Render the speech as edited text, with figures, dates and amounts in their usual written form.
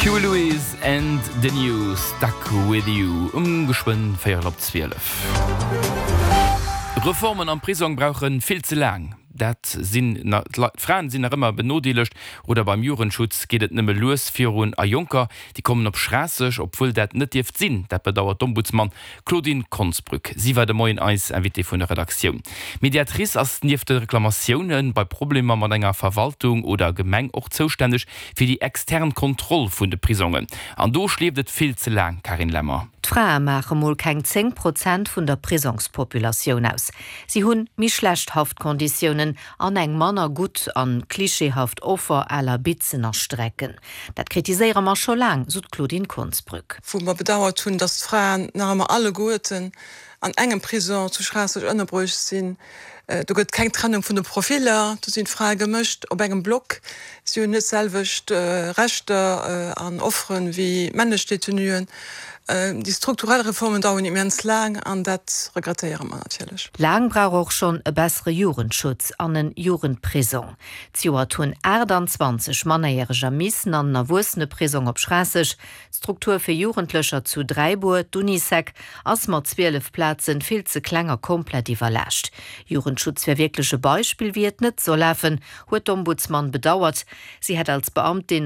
Huey Lewis and the News, Stuck With You, um geschwënn véierel op 12. Reformen am Prisong brauche vill ze laang. Dat sinn d'Fraen sinn nach ëmmer benodeelegt oder beim Jugendschutz geet et nëmme lues virun a Jonker, déi kommen op Schraasseg, obwuel dat net dierft sinn. Dat bedauert d'Ombudsman Claudine Konsbrück. Si war de Moien eis Invitée vun der Redaktioun. D'Mediatrice ass nieft de Reklamatioune bei Problemer mat enger Verwaltung oder Gemeng och zoustänneg fir déi extern Kontroll vun de Prisongen. An do schleeft et vill ze laang, Carine Lemmer. D'Frae maache mol keng 10 Prozent vun der Prisongspopulatioun aus. Si hunn méi schlecht Haftkonditiounen an eng manner gutt an klischeehaft Offer à la Bitzen a Strecken. Dat kritiséiere mer scho laang, sou d'Claudine Konsbrück. Wou mer bedauert hunn, datt d'Fraen nach ëmmer alleguerten an engem Prison zu Schraasseg ënnerbruecht sinn. Do gëtt keng Trennung vun de Profiller, do sinn d'Frae gemëscht op engem Block. Si hunn net d'selwecht Rechter an Offere wéi männlech Detenuen. Déi strukturell Reformen daueren immens laang an dat regrettéiere mer natierlech. Laang brauch och schonn e bessere Jugendschutz an en Jugendprisong. Zejoert hunn 28 Mannerjäreger missen an en Erwuesseneprisong op Schraasseg. D'Struktur fir Jugendlecher zu Dräibuer, d'Unisec, ass mat 12 Plazen vill ze kleng a komplett iwwerlaascht. Jugendschutz wär wierklech e Beispill, wéi et net soll lafen, huet d'Ombudsman bedauert. Si hätt als Beamtin.